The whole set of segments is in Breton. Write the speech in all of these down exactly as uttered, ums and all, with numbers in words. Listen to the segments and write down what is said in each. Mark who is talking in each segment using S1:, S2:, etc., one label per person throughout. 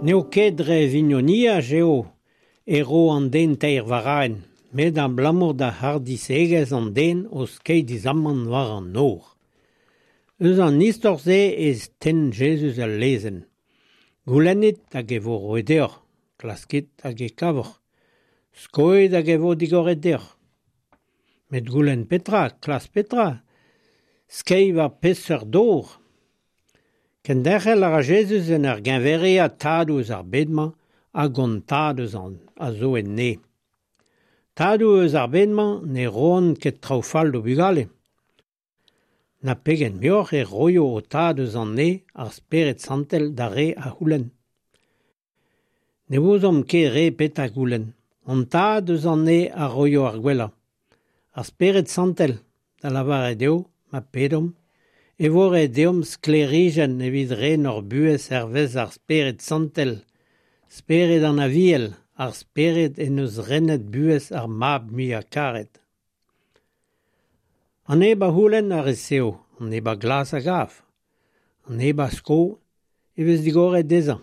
S1: N'eo ket dre vignoniaj eo e ro an den teir varaenn, met abalamour da hardizhegezh an den o skeiñ dizamant war an nor. Eus an istor-se e tenn Jezuz ul lezenn. Goulennit hag e vo roet deoc'h, klaskit hag e kavoc'h, skoit hag e vo digoret deoc'h. Met goulenn petra, klask petra, skeiñ war peseurt dor ? Kenderc'hel a ra Jezuz en ur geñveriañ tadoù eus ar bed-mañ hag hon Tad eus an a zo en neñv. Tadoù eus ar bed-mañ ne roont ket traoù fall d'o bugale. Na pegen muioc'h e roio ho Tad eus an neñv ar Spered Santel d'ar re a c'houlenn. Ne ouzomp ket re petra goulenn. Hon Tad eus an neñv a roio ar gwellañ. Ar Spered Santel, da lavaret eo, ma pedomp, e vo ret deomp sklêrijenn evit ren hor buhez hervez ar Spered Santel, Spered an Aviel, ar Spered en deus renet buhez ar Mab muiañ-karet. An neb a c'houlenn a resev, an neb a glask a gav. An neb a sko e vez digoret dezhañ.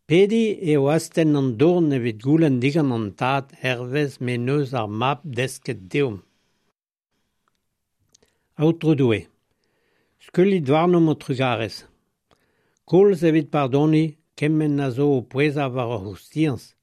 S1: Pediñ eo astenn an dorn evit goulenn digant an Tad hervez m'en deus ar Mab desket deomp. Aotrou Doue, skuilhit warnomp ho trugarez. Koulz evit pardoniñ kement a zo o pouezañ war hor c'houstiañs,